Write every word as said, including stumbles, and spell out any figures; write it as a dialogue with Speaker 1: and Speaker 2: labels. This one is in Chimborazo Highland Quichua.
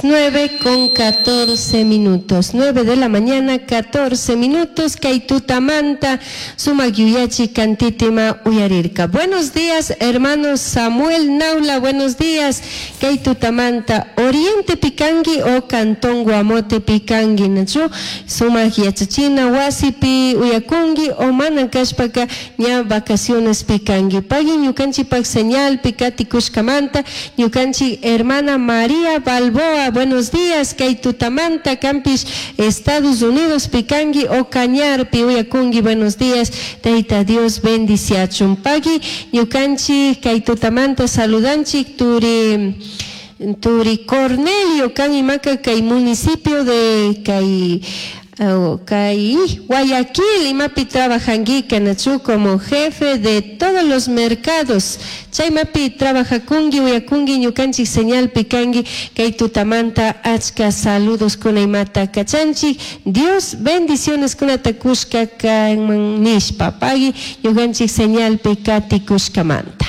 Speaker 1: Nueve con catorce minutos, nueve de la mañana, catorce minutos, kay tutamanta, sumak yuyachi kantitima uyarirka. Buenos días, hermano Samuel Naula, buenos días, kay tutamanta, Oriente Picangi o Cantón Guamote Picangi, nachu, sumak yachachina, wasipi uyakungi o mana kashpaka ña vacaciones picangi. Pagui ñukanchikpak señal pikati kushkamanta, ñukanchik hermana María Balboa, buenos días, kay tutamanta, kanpish, Estados Unidos, picangi o Cañarpi, uyakungi, buenos días, Taita Dios bendiciachun. Pagui, ñukanchik, kay tutamanta, saludanchik, turi, turi Cornelio, kan imaka, kay municipio de kay, oh, kay Guayaquil, imapi trabajangi, nachu como jefe de todos los mercados. Chaymapi trabajakungi, uyakungi, ñukanchik señal pikangi, kay tutamanta achka saludos kuna imata kachanchik. Dios bendiciones kunata kushka kanman nishpa, pagui ñukanchik señal pikati kushkamanta.